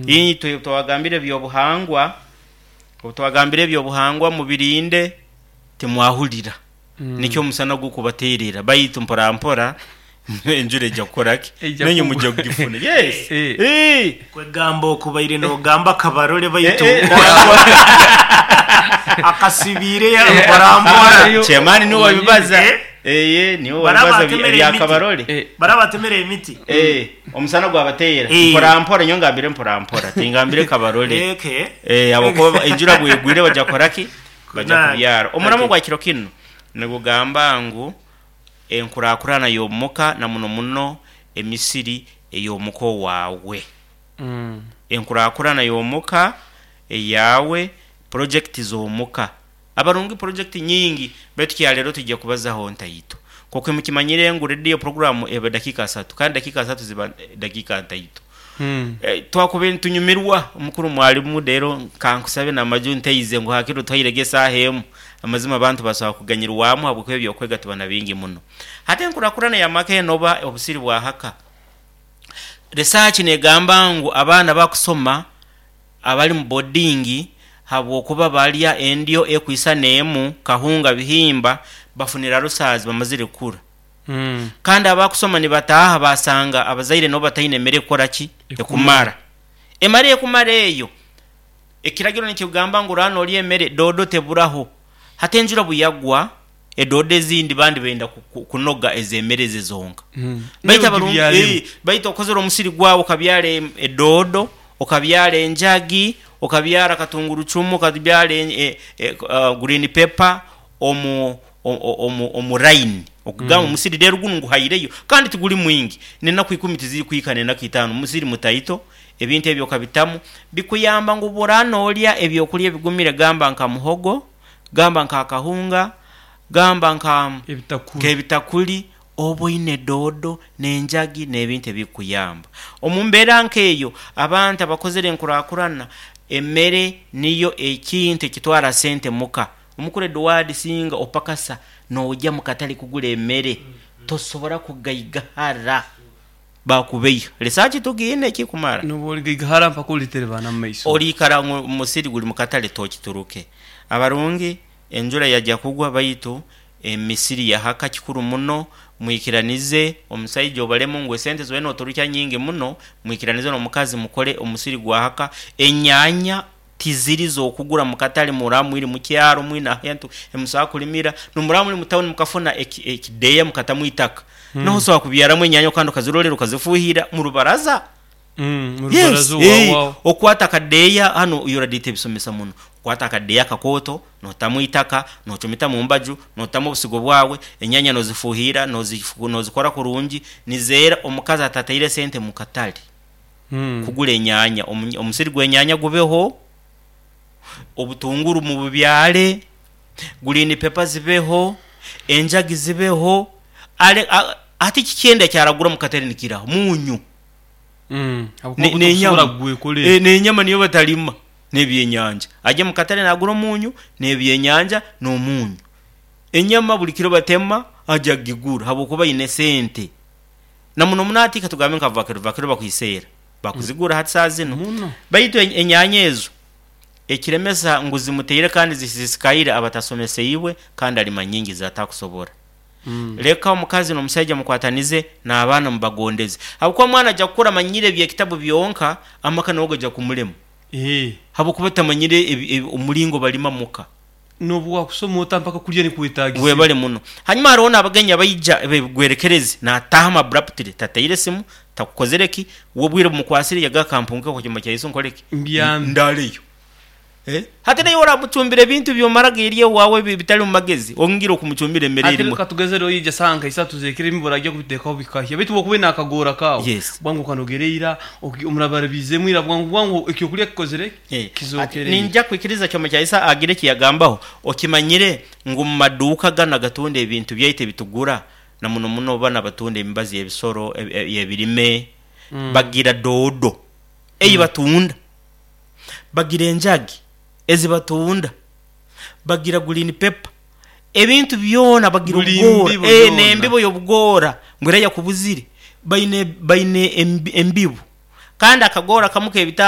Itwe twabagambira eby'obuhangwa, obu twagambire eby'obuhangwa mubirinde, timwahurira. Nikyo omusana gurikubateerera. Baitu mpora mpora enjura eija kukora ki? Eija Nainye kugwa. mwija kugifuna. Yes! Eeh! Kwegamba okubaire nogamba akabarole baitu akasibiire mpora mpora. Chairman niwe wabibaza. Eh? Eeh, niwe Bari wabibaza abatemere ebya emiti. Kabarole. Bari abatemere emiti. Eh, omusana gwabateera Eh. mpora mpora nyowe ngambire mpora mpora tingambire Kabarole. Okay. Eh, ahabw'okuba enjura bwegwire baja kukora ki? Baja Kunaaga. kubyara. Omuramwa Okay. gwa kiro kinu nigugamba ngu enkurakurana y'omuka na muno muno emisiri ey'omuka owaawe. Enkurakurana y'omuka eyaawe, purojekiti z'omuka. Abarungi purojekiti nyingi baitu kyaleero twija kubazaho ntaito. Nk'oku mukimanyire ngu rediyo puroguraamu eba dakiika asatu kandi dakiika asatu ziba dakiika ntaito. Twakubaire nitunyumirwa omukuru mwalimu reero kankusabe n'amaju ntaize ngu hakiri otuhairege esaaha emu. Amazima abantu basobola kuganyirwamu ahabw'okuba eby'okwega tuba na bingi muno. Hati enkurakurana y'amaka enu oba obusiri bwa haka, research negamba ngu abaana abakusoma abali mu bodingi habw'okuba balya endyo ekwisana emu, kahunga, bihimba, bafunire alusazi bamazire kukura. Kandi abakusoma nibataaha basanga abazaire nabo bataine mere ekukora ki? Ekumara. Emere ekumara eyo, ekiragiro nikigamba ngu oraaba norya emere, doodo teburaho. Hati enjura bweyagwa, edoodo ezindi bandi benda kunoga ez'emere eze zonka. Baitu abarungi, baitu okozire omusiri gwawe okabyara edoodo, okabyara enjagi, okabyara katungurucumu, okabyara green pepper omu omu line, okugamba omusiri reero gunu nguhaireyo kandi tiguri mwingi, n'enaku ikumi tizirikuhika n'enaku itaano, musiri mutaito, ebintu ebyo okabitamu, bikuyamba ngu obu oraaba noorya ebyokurya ebigumire gamba nka muhogo, gamba nka akahunga, gamba nka nk'ebitakuri, oba oine doodo n'enjagi n'ebintu ebirikukuyamba. Omu mbeera nk'eyo, abantu abakozire enkurakurana, emere niyo ekintu ekitwara sente muka. Omukuru Eduard singa opakasa noja mukatale kugura emere tosobora kugaigahara bakubeiha. Research tugiine ekikumara. Noba origaigahara mpaka oriterebana mu maiso. Oriikara ngu musiri guri mukatale tokituruke. Abarungi enjura yaja kugwa baitu emisiri yahaka kikuru muno mwikiranize omusaija obaremu ngu esente zoine noturukya nyingi muno mwikiranize nomukazi mukore omusiri gwahaka enyanya Tiziri z'okugura mu katale muraba mwiri mu kyaro mwine ahantu he musobola kulimira, n'omuraba muri mu tawuni mukafuna ekideeya mukatamu eitaka, noho osobola kubyaramu enyanya kandi okazirorera okazifuuhirira mu rubaraza. Mu Yes, rubaraza owawaho. okwata akadeeya hanu URDA tebisomesa muno, okwata akadeeya akakooto notamu eitaka, nocumita mu mbaju, notamu obusigo bwawe, enyanya nozifuuhirira, nozikora kurungi, nizeera omukazi atataire sente mu katale. Kugura enyaanya, omusiri gw'enyaanya gubeho, obutunguru mububyare, gurini pepa zibeho, enjagi zibeho, hati kiki endi ekyaragura omu katare nikiraho? Munyu n'enyama niyo batarima n'ebyenyanja. Agye omu katare nagura omunyu n'ebyenyanja n'omunyu. Enyama buri kiro batema agye agigura ahabw'okuba aine sente. Na muno muno hati katugambe nka vakero, vakero bakwiseera, bakuzigura hati saaha zinu. Muno. Baitu enyaanya ezo ekiremesa ngu zimuteire kandi zisisikaire aba atasomeseibwe kandi alima nyingi zatakusobora. Leka omukazi n'omusaija mukwatanize n'abaana mubagondeze. Habwokuba omwana aja kukura amanyire eby'ekitabu byonka, amaka nago gaja kumulema. Habwokuba tamanyire omulingo balima muka. N'obu waakusoma ota mpaka kurya nikwetagisa. Webale muno. Hanyuma haroho n'abagenyi abaija b'ebigwerekerezi naataahamu abruptly, tataire simu, takukozire ki, we obwire bumukwasire yagamba kampunguke omu kyoma kya Yesu nkole ki? Mbyame. Ndaaleyo. Hati naiwe oramucumbira ebintu by'omara gerya owaawe ebitari mu magezi, ongire okumucumbira emere Hati erimu. reka tugeze reero yaija saaha nka isatu z'ekiro ebimwe oragya kubiteekaho bikahya. Beitu bw'okuba oine akagoora kaawe, bwangu okanogera ira, omurabarabiizemu ira bwangu bwangu ekyokurya kikozire ki? Ati, Kizokereire. Ninja kwikiriza Kyoma kya Isa agire eki yagambaho. Okimanyire ngu mu maduuka ganu agatunda ebintu byaitu ebitugura, na muno muno banu abatunda emibazi y'ebisoro, y'ebirime, bagira doodo ei batunda, bagira enjagi ezi batunda, bagira green pepper, ebintu byona bagira Buli obugoora, mbibo yoona. n'embibo y'obugoora ngu era yakubuzire. Baine baine embibo. Kandi akagoora kamu k'ebitaano.